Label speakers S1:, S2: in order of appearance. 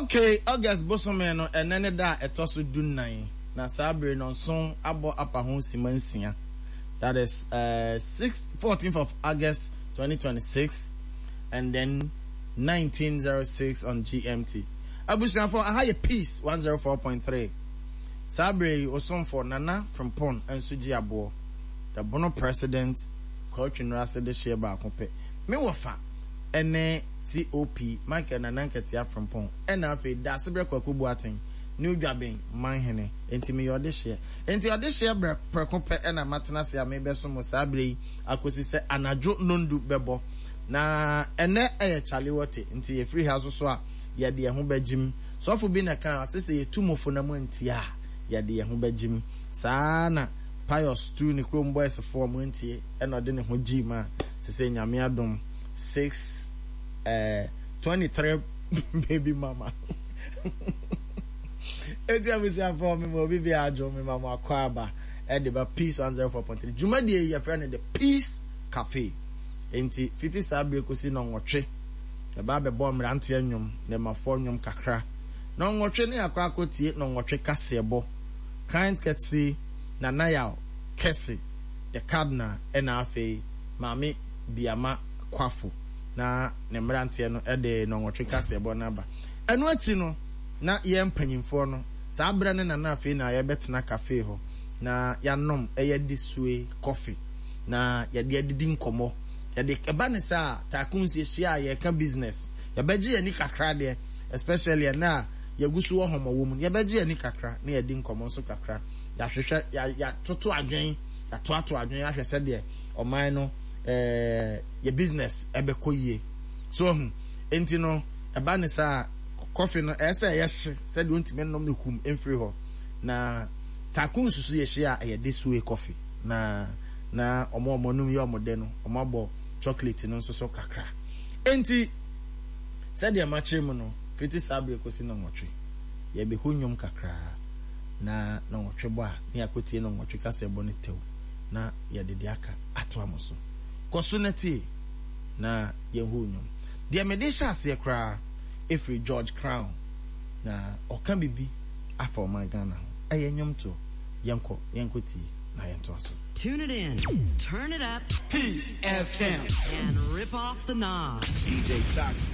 S1: Okay, August bosome no, ɛnnɛ ne da a ɛtɔ so dunnan, na saa bere no nson abɔ apa ho simma nsia. That is uh, 6, 14th of August 2026 and then 1906 on GMT. Abusuafo, aha yɛ Peace 104.3. Saa bere yi, Osomfo Nana Frimpong nso gye aboɔ. The Bono President Kwao Twinurase de hyeɛ baako pɛ. Me wɔfa ne COP Michael Nana Nketia Frimpong ɛna afei Daasebrɛ Kwaku Boateng New Dwaben Manhene. Enti meyɛ ɔdehyeɛ. Enti ɔdehyeɛ brɛ prɛko pɛ ɛna matena ase a merebɛsom mo saa berɛ yi akɔsi sɛ anadwo nnɔndu bɛbɔ. Na ɛnnɛ ɛyɛ Charlie Wote, nti yɛfiri ha nso so a yɛde yɛn ho bɛgyem. Sɔfo bi na ɛkaa, ɔse sɛ yɛtu mo fo na moantie a, yɛde yɛn ho bɛgyem. Saa ara na Pius tuu ne kurom boys fo a wɔantie ɛna ɔde ne ho gyee mu a sesei Nyame adom 6 eh, 23 baby mama. Enti abusuafoɔ mema obi biara adwo mema mo akwaaba ɛde ba Peace 104.3 dwumadie yi yɛfrɛ no The Peace Cafe. Enti fiti saa bere kɔsi nnɔnwɔtwe yɛba abɛbɔ mmeranteɛ nnwom, nnɛmafoɔ nnwom kakra. Nnɔnwɔtwe ne akɔ akɔtie nnɔnwɔtwe kaseɛbɔ. Kind Kɛse, Nana Yaw Kɛse, The Cardinal ɛna afei Maame Biama Kwafo na ne mmeranteɛ no de nnɔnwɔtwe kaseɛbɔ no aba. Ɛno akyi no, na yɛn mpanyimfoɔ no, saa berɛ no na na afei na yɛbɛtena cafe hɔ na yɛanom ɛyɛ desue coffee na yɛde adidi nkɔmmɔ. Yɛde ɛba ne saa a, tycoons yɛhyia a yɛreka business. Yɛbɛgye yɛn ani kakra deɛ, especially ɛnnɛ a yɛgu so wɔ hɔmɔwɔ mu no, yɛbɛgye yɛn ani kakra na yɛadi nkɔmmɔ nso kakra. Yɛahwehwɛ, yɛatoto adwene, yɛatoato adwene ahwɛ sɛdeɛ ɔman no eh, yɛ business ɛbɛkɔ yie. So ahu, enti no, ɛba ne saa a, kɔfe no ɛyɛ sɛ ɛyɛ hye sɛdeɛ wontumi nnom no kum mfiri hɔ. Na taku nsusu yɛhyia a, ɛyɛ this way coffee. Na na wɔn a wɔn anum yɛ wɔn dɛ no, wɔabɔ chocolate no nso so kakra. Enti, sɛdeɛ makyerɛ mu no, Fiti saa bere kosi nnɔnwɔtwe, yɛbehu nnwom kakra, na nnɔnwɔtwe bɔ a, na yɛakotie nnɔnwɔtwe kaseɛbɔ no tɛw, na yɛde deɛ aka atoa mo so. Kɔ so na tie, na yɛnhu nnwom. Deɛ mede rehyɛ aseɛ koraa firi George Crown, na ɔka biribi afa ɔman Ghana ho. Ɛyɛ nnwomtoɔ. Yɛnkɔ, yɛnkɔtie, na yɛntoa so.
S2: Tune it in, turn it up.
S3: Peace FM.
S2: And rip off the knob.
S3: DJ Toxic.